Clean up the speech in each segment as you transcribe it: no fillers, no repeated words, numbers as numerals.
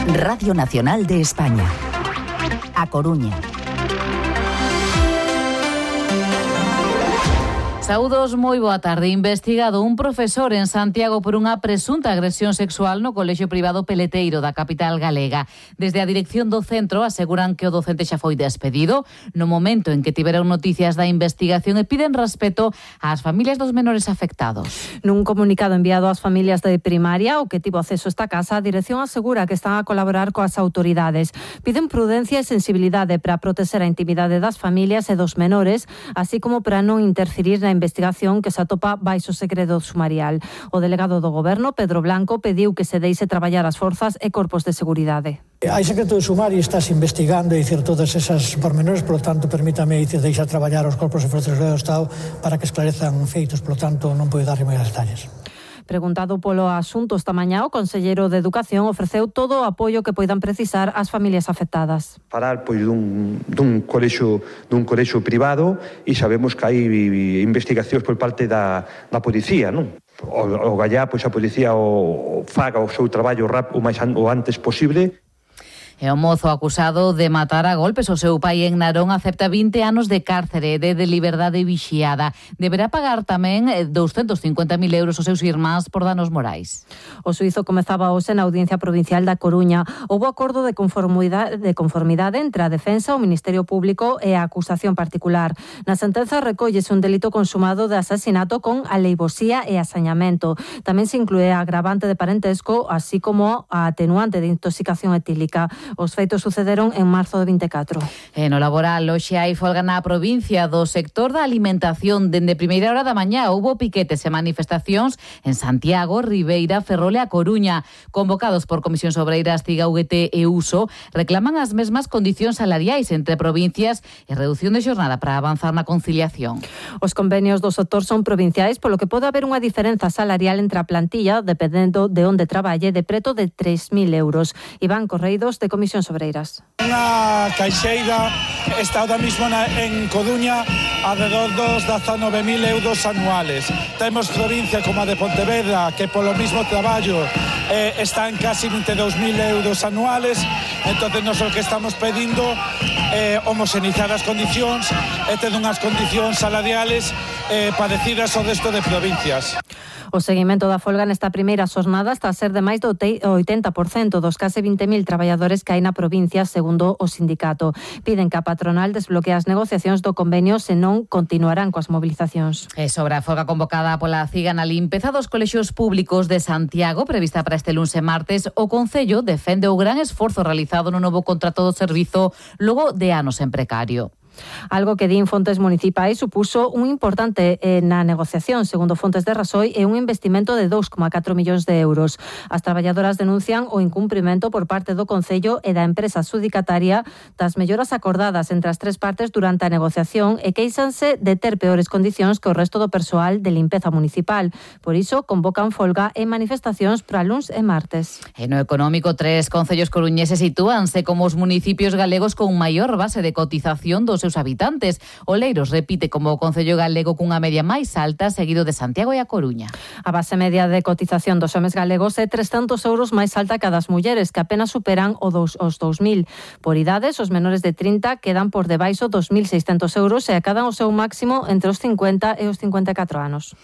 Radio Nacional de España. A Coruña. Saúdos, moi boa tarde. Investigado un profesor en Santiago por unha presunta agresión sexual no colexio privado Peleteiro da capital galega. Desde a dirección do centro aseguran que o docente xa foi despedido no momento en que tiveron noticias da investigación e piden respeto ás familias dos menores afectados. Nun comunicado enviado ás familias de primaria, o que tivo acceso a esta casa, a dirección asegura que están a colaborar coas autoridades. Piden prudencia e sensibilidade para proteger a intimidade das familias e dos menores, así como para non interferir na investigación que se atopa baixo segredo sumarial. O delegado do Goberno, Pedro Blanco, pediu que se deixe traballar as forzas e corpos de seguridade. Hai secreto de sumario e estás investigando e dicir todas esas pormenores, polo tanto, permítame dicir deixar traballar os corpos de forzas do Estado para que esclarezan feitos, polo tanto, non podo darlle máis detalles. Preguntado polo asunto esta mañá, o conselleiro de Educación ofreceu todo o apoio que poidan precisar ás familias afectadas. Falar dun colexio privado e sabemos que hai investigacións por parte da policía, non? O gallá, pois a policía faga o seu traballo o antes posible. E o mozo acusado de matar a golpes o seu pai en Narón acepta 20 anos de cárcere de liberdade vixiada. Deberá pagar tamén 250.000 euros aos seus irmáns por danos morais. O xuízo comezaba hoxe na Audiencia Provincial da Coruña. Houbo acordo de conformidade entre a defensa, o Ministerio Público e a acusación particular. Na sentenza recóllese un delito consumado de asasinato con aleivosía e asañamento. Tamén se inclúe a agravante de parentesco, así como a atenuante de intoxicación etílica. Os feitos sucederon en marzo de 24. E no laboral, hoxe hai folga na provincia do sector da alimentación. Dende primeira hora da mañá houbo piquetes e manifestacións en Santiago, Ribeira, Ferrol e A Coruña. Convocados por Comisións Obreiras, CIGA, UGT e USO, reclaman as mesmas condicións salariais entre provincias e reducción de xornada para avanzar na conciliación. Os convenios do sector son provinciais, polo que pode haber unha diferenza salarial entre a plantilla, dependendo de onde traballe, de preto de 3.000 euros. Iván Correidos, de Comisións Obreiras. Unha caixeira está ahora mismo en Coruña alrededor dos 19.000 euros anuales. Temos provincia como a de Pontevedra que polo mismo traballo está en casi 22.000 euros anuales. Entonces nós o que estamos pedindo é homoxenizar as condicións e ter unhas condicións salariales parecidas ao resto de provincias. O seguimento da folga nesta primeira xornada está a ser de máis do 80% dos case 20.000 traballadores que hai na provincia, segundo o sindicato. Piden que a patronal desbloquee as negociacións do convenio, senón continuarán coas mobilizacións. E sobre a folga convocada pola CIGA na limpeza dos colexios públicos de Santiago, prevista para este luns e martes, o Concello defende o gran esforzo realizado no novo contrato do servizo logo de anos en precario. Algo que din fontes municipais supuso un importante na negociación, segundo fontes de Rasoy, e un investimento de 2,4 millóns de euros. As traballadoras denuncian o incumprimento por parte do Concello e da empresa adxudicataria das melloras acordadas entre as tres partes durante a negociación e queixanse de ter peores condicións que o resto do persoal de limpeza municipal. Por iso, convocan folga e manifestacións para luns e martes. E no económico, 3 concellos coruñeses sitúanse como os municipios galegos con maior base de cotización dos seus habitantes. Oleiros repite como o concello galego cunha media máis alta, seguido de Santiago e A Coruña. A base media de cotización dos homes galegos é 300 euros máis alta que a das mulleres, que apenas superan os 2.000. Por idades, os menores de 30 quedan por debaixo dos 1.600 euros e acadan o seu máximo entre os 50 e os 54 anos.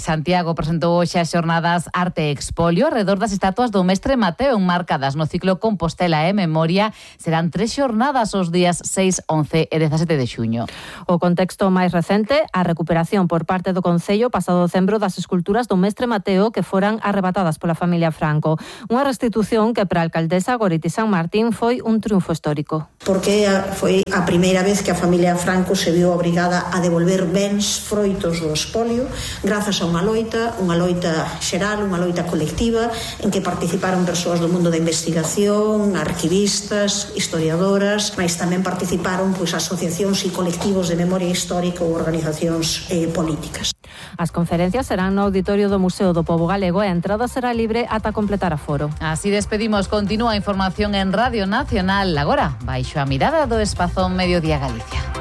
Santiago presentou hoxe as xornadas Arte Expolio arredor das estatuas do mestre Mateo enmarcadas no ciclo Compostela e Memoria. Serán 3 xornadas os días 6, 11 e 17 de xuño. O contexto máis recente, a recuperación por parte do Concello pasado decembro das esculturas do mestre Mateo que foran arrebatadas pola familia Franco. Unha restitución que para a alcaldesa Goriti San Martín foi un triunfo histórico. Porque foi a primeira vez que a familia Franco se viu obrigada a devolver bens froitos do expolio grazas a unha loita xeral, unha loita colectiva en que participaron persoas do mundo da investigación, arquivistas, historiadoras, mas tamén participaron asociacións e colectivos de memoria histórica ou organizacións políticas. As conferencias serán no auditorio do Museo do Pobo Galego e a entrada será libre ata completar aforo. Así despedimos, continúa a información en Radio Nacional. Agora, baixo a mirada do Espazón Mediodía Galicia.